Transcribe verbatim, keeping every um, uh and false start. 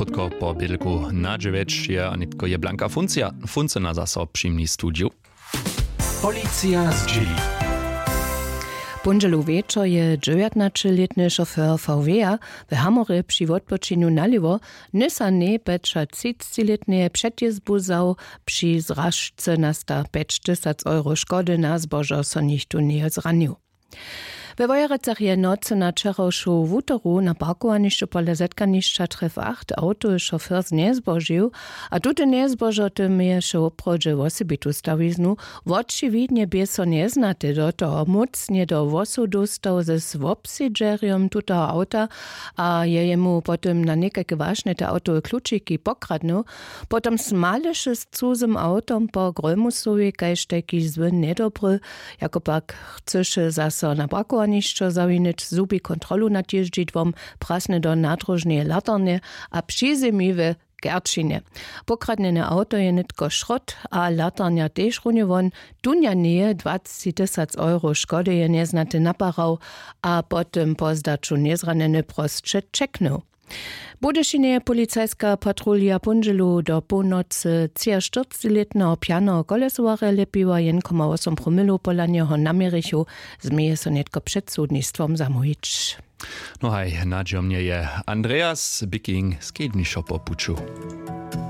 Krótko po bědlku na dźewjeć je a nětko je Blanka Funcija, Funcena zaso při mni w studiju. Policija zdźěli. Póndźelu wječor je dźewjatnaćelětny šofér V W-a w Hamorje při wotpočinju nalěwo nysa njepjećatřicćilětneje předjězbu wzał. Při zražce nasta pjećtysac euro škody, na zbožo so nichtó njeje zranił. We Wojerecach je w nocy na wčerawšu wutoru na parkowanišću pola zetkanišća Tref acht awtowy šofér znjezbožił, a tute njezbožo tym měješe woprawdźe wosebitu stawiznu. Wočiwidnje bě so njeznaty do toho mócnje do włosow dóstał z wobsedźerjom tutoho awta a je jemu po tym na někajke wašnje te awtowe klučiki pokradnył. Potom smaleše z cuzym awtom po grólmusowej, kaž tajki zły njedobry. Jako pak chcyše zaso na parkowanišćo zawinić, zhubi kontrolu nad jězdźidłom, prasny do nadróžneje latarnje a přizemi we kerčinje. Pokradnjene awto je nětko šrot a latarnja tež runje won. Dunja njeje dwacci tysac euro škody je njeznaty naparał a po tym po zdaću njezranjeny prosće ćeknył. W Budyšinje je policajska patrulja póndźelu do połnocy třiaštyrcćilětneho pjaneho kolesowarja lěpiła. Jedn koma wosom promilow pola njeho naměrichu, změje so nětko před sudnistwom zamołwić. No haj, nadźijomnje je Andreas Bicking skednišo po puću.